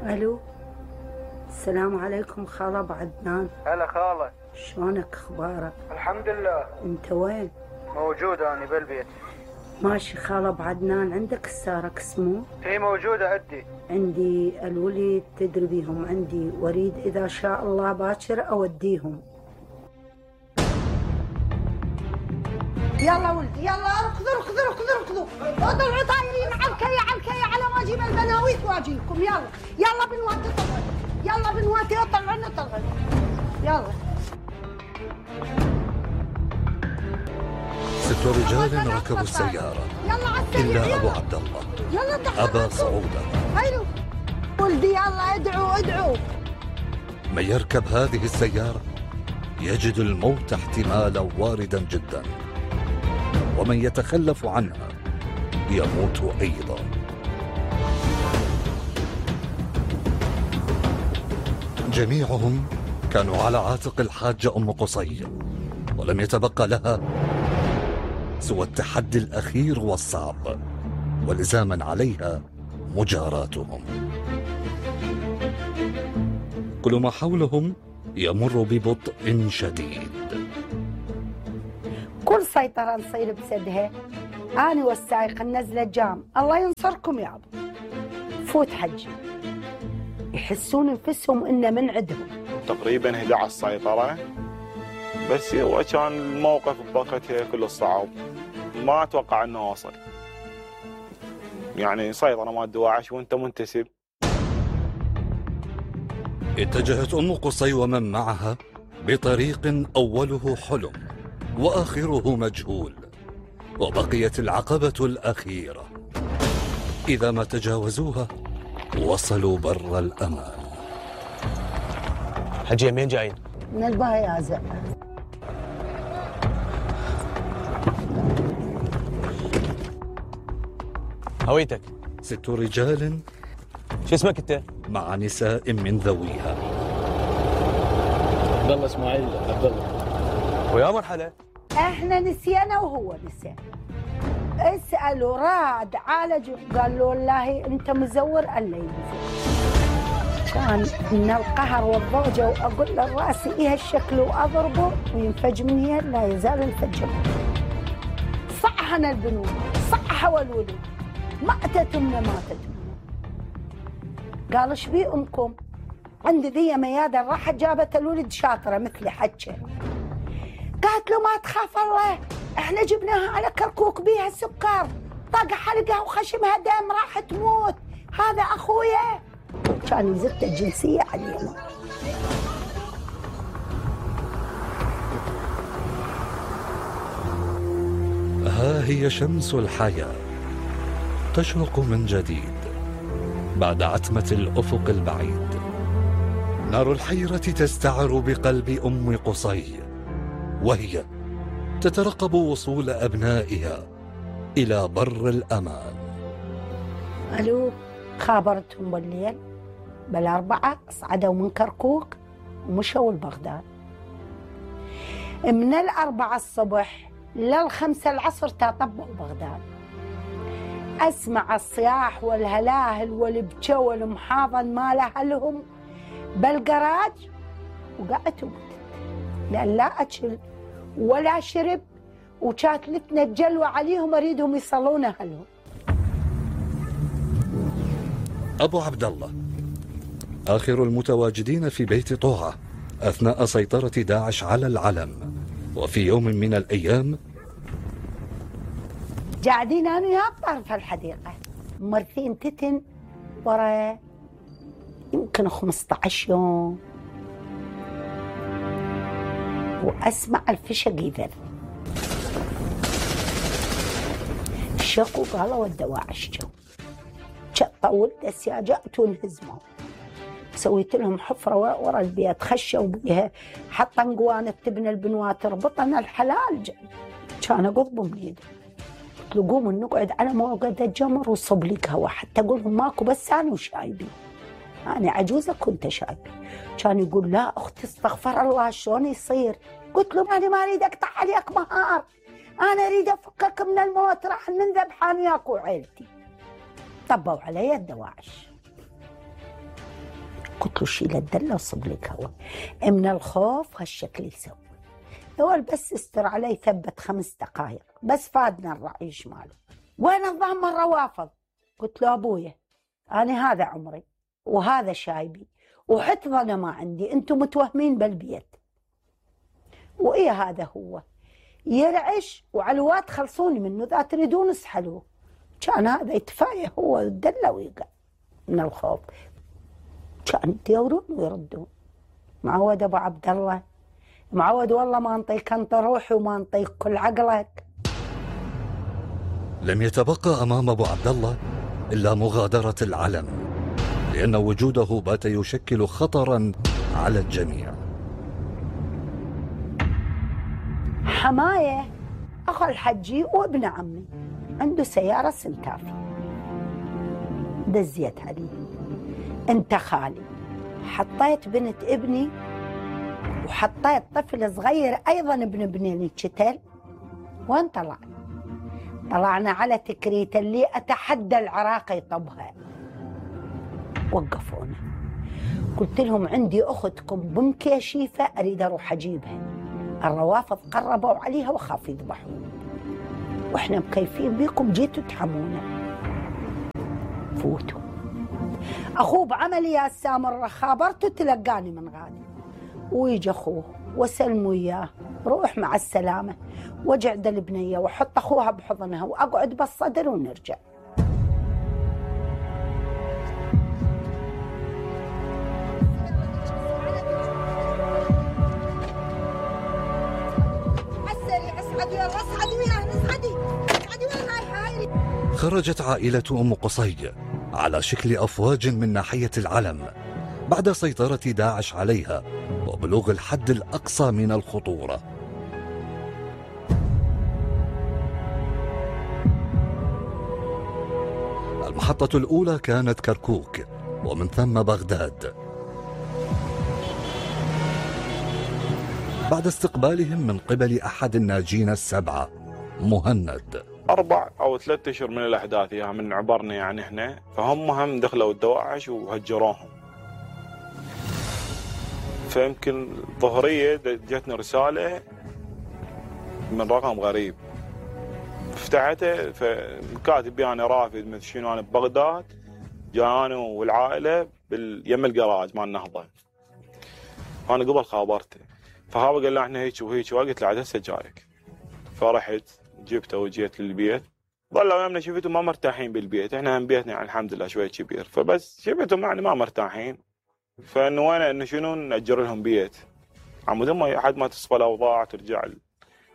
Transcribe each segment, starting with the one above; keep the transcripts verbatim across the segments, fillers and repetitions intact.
الو، السلام عليكم خالة ابو عدنان. هلا خالة، شلونك اخبارك؟ الحمد لله. انت وين؟ موجود اني بالبيت. ماشي خالة ابو عدنان، عندك السارك اسمه؟ هي موجودة عندي. عندي الولد تدري بيهم عندي، واريد اذا شاء الله باكر اوديهم. يلا ولدي يلا اركضوا اركضوا اركضوا اركضوا اطلعوا طايرين على الكي على الكي على ما اجيب البناويت واجيكم. يلا يلا بنواتي طلعوا، يلا بنواتي اطلعوا اطلعوا يلا. ست رجال ركبوا السيارة إلا أبو عبد الله أبى صعودها. حلو ولدي يلا ادعوا ادعوا. من يركب هذه السيارة يجد الموت احتمالا واردا جدا، ومن يتخلف عنها يموت أيضا. جميعهم كانوا على عاتق الحاجة أم قصي، ولم يتبقى لها سوى التحدي الأخير والصعب، ولزاما عليها مجاراتهم. كل ما حولهم يمر ببطء شديد. كل سيطرة نصير بسدها أنا والسايق ننزل جام. الله ينصركم يا أبو. فوت حجي يحسون انفسهم إنه من عندهم. تقريبا إحدى عشرة سيطرة، بس هو كان الموقف بوقتها كله صعب، ما أتوقع إنه وصل. يعني سيطرة مال دواعش وأنت منتسب. اتجهت أم قصي ومن معها بطريق أوله حلم وآخره مجهول، وبقيت العقبة الأخيرة. إذا ما تجاوزوها وصلوا بر الأمان. حجي مين جايين؟ من البايازة. هويتك؟ ست رجال. شو اسمك انت؟ مع نساء من ذويها. عبد الله اسماعيل عبد الله. ويا مرحلة. احنا نسينا وهو نسي. اسألوا راد عالجوا، قال له والله انت مزور الا يمزور. كان من القهر والضوجة واقول له راسي ايه هالشكل واضربه وينفج من هي لا يزال الفجر. صحنا البنون صح والولد، ماتت امنا ماتت امنا. قال ايش بي امكم؟ عندي ذي ميادة راحت جابت الولد شاطرة مثلي حجة. قالت له ما تخاف الله، احنا جبناها على كركوك بيها سكر، طق حلقها وخشمها دم راح تموت، هذا اخويا. كان يزت الجنسية علينا. ها هي شمس الحياة تشرق من جديد بعد عتمة الأفق البعيد. نار الحيرة تستعر بقلب أم قصي، وهي تترقب وصول أبنائها إلى بر الأمان. ألو، خابرتهم بالليل بالأربعة صعدوا من كركوك ومشوا لبغداد. من الأربعة الصبح للخمسة العصر تطبقوا بغداد. أسمع الصياح والهلاهل والبكا والمحاضن مال أهلهم بالجراج، وقعدت وقتت لأن لا أكل ولا شرب، وكانت لتنا الجلوة عليهم أريدهم يصلون أهلهم. أبو عبد الله آخر المتواجدين في بيت طوعة أثناء سيطرة داعش على العلم. وفي يوم من الأيام قاعدين أنا وياه بطرف الحديقة مرثين تتن ورا يمكن خمسة عشر يوم، وأسمع الفشق يذر. شقوا قالوا الدواعش جو طولت السياجات وانهزموا. سويت لهم حفرة ورا البيت خشوا بيها، حطن قوانة تبنى البنوات ربطنا الحلال. كان أقضبهم من يدي، قلت له قوموا نقعد على موقد الجمر وصب لي قهوة، حتى أقول لهم ماكو بس أنا وشايبي، أنا عجوزة كنت شايبي. كان يقول لا أختي استغفر الله شلون يصير؟ قلت له أنا ما أريد أقطع عليك مهار، أنا أريد أفكك من الموت، راح ننذبح أنا وياك وعيلتي. طبوا علي الدواعش. قلت له شيل الدله وصب لك هوا. من الخوف هالشكل يسوي. يقول بس استر علي ثبت خمس دقائق بس فادنا الرعيش ماله. وين الضام الروافض؟ قلت له ابويا انا هذا عمري وهذا شايبي وحتى انا ما عندي، انتم متوهمين بالبيت. وايه هذا هو يرعش وعلوات خلصوني منه، اذا تريدون اسحلوه. كان هذا يتفاية هو الدله ويقع من الخوف. كان يدورون ويردون. معود ابو عبد الله، معود والله ما انطيك انت روحي وما انطيك كل عقلك. لم يتبقى امام ابو عبد الله الا مغادرة العلم، لان وجوده بات يشكل خطرا على الجميع. حمايه اخو الحجي وابن عمي عنده سياره سنتافي، دزيت عليه انت خالي، حطيت بنت ابني وحطيت طفل صغير ايضا ابن ابني الشتل. وين طلع؟ طلعنا على تكريت اللي اتحدى العراق يطبها. وقفونا، قلت لهم عندي اختكم بمكيشيفه اريد اروح اجيبها. الروافض قربوا عليها وخاف يذبحون، واحنا مكيفين بيكم جيتوا تحمونا. فوتوا. اخوه بعملي يا سامر خابرته تلقاني من غادي، ويجي اخوه وسلموا اياه روح مع السلامه، واجعد البنيه واحط اخوها بحضنها واقعد بالصدر ونرجع. خرجت عائلة أم قصي على شكل أفواج من ناحية العلم بعد سيطرة داعش عليها وبلوغ الحد الأقصى من الخطورة. المحطة الأولى كانت كركوك ومن ثم بغداد. بعد استقبالهم من قبل أحد الناجين السبعة مهند. أربع أو ثلاثة أشهر من الأحداث يعني من عبرنا يعني إحنا، فهم هم دخلوا الدواعش وهجروهم. فيمكن ظهرية جتنا رسالة من رقم غريب، فتحته فكاتب يعني رافد مثل شنو أنا ببغداد، جاني والعائلة باليم الجراج مال النهضة. أنا قبل خابرته، فهذا قال له إحنا هيك وهيك، وقلت له عاد هسه جايك. فرحت جبته وجيت للبيت، ظلوا يمنا شفتهم ما مرتاحين بالبيت، احنا هم بيتنا يعني الحمد لله شويه كبير، فبس شفتهم يعني ما مرتاحين، فنوينا انه شنو نأجر لهم بيت عمود ما لحد ما تصفى الاوضاع ترجع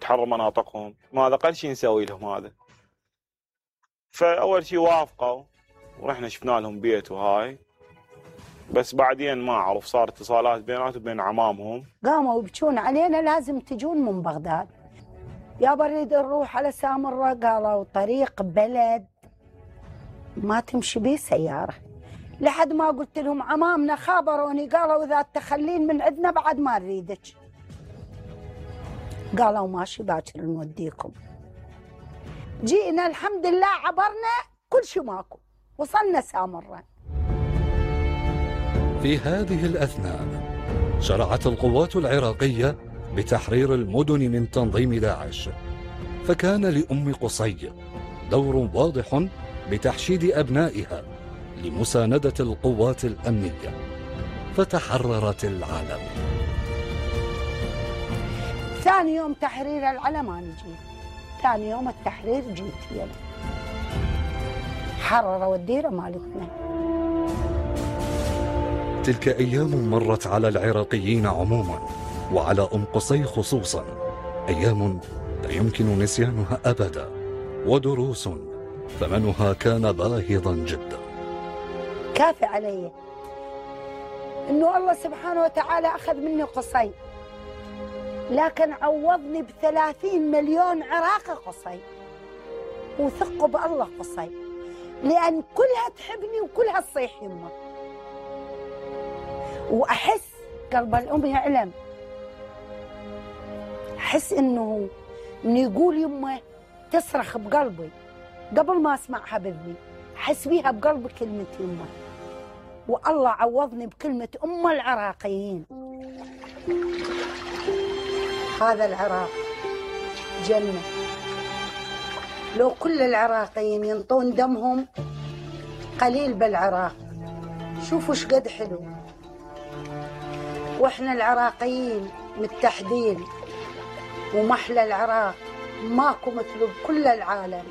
تحرر مناطقهم، ما هذا اقل شيء نسوي لهم هذا. فاول شيء وافقوا ورحنا شفنا لهم بيت وهاي، بس بعدين ما اعرف صار اتصالات بيناتهم وبين عمامهم، قاموا يبكون علينا لازم تجون من بغداد. يا بريد نروح على سامرة، قالوا طريق بلد ما تمشي بيه سيارة، لحد ما قلت لهم عمامنا خابروني قالوا إذا تخلين من عندنا بعد ما نريدك. قالوا ماشي باكر نوديكم. جينا الحمد لله عبرنا كل شيء ماكو، وصلنا سامرة. في هذه الأثناء شرعت القوات العراقية بتحرير المدن من تنظيم داعش، فكان لأم قصي دور واضح بتحشيد أبنائها لمساندة القوات الأمنية، فتحررت العلم. ثاني يوم تحرير العلم أنا جيت، ثاني يوم التحرير جيت يلا حرروا الديرة مالتنا. تلك أيام مرت على العراقيين عموما وعلى أم قصي خصوصا، أيام لا يمكن نسيانها أبدا، ودروس ثمنها كان باهظا جدا. كافي علي إنه الله سبحانه وتعالى أخذ مني قصي، لكن عوضني بثلاثين مليون عراقي قصي، وثقوا بالله قصي، لأن كلها تحبني وكلها تصيح يمه، وأحس قلب الأم يعلم، أحس إنه من يقول يمه تصرخ بقلبي قبل ما أسمعها بإذني، أحس بيها بقلبي كلمة يمه. والله عوضني بكلمة أم العراقيين. هذا العراق جنة، لو كل العراقيين ينطون دمهم قليل بالعراق شوفوا شقد حلو. واحنا العراقيين متحدين ومحلى العراق ماكو مثله بكل العالم.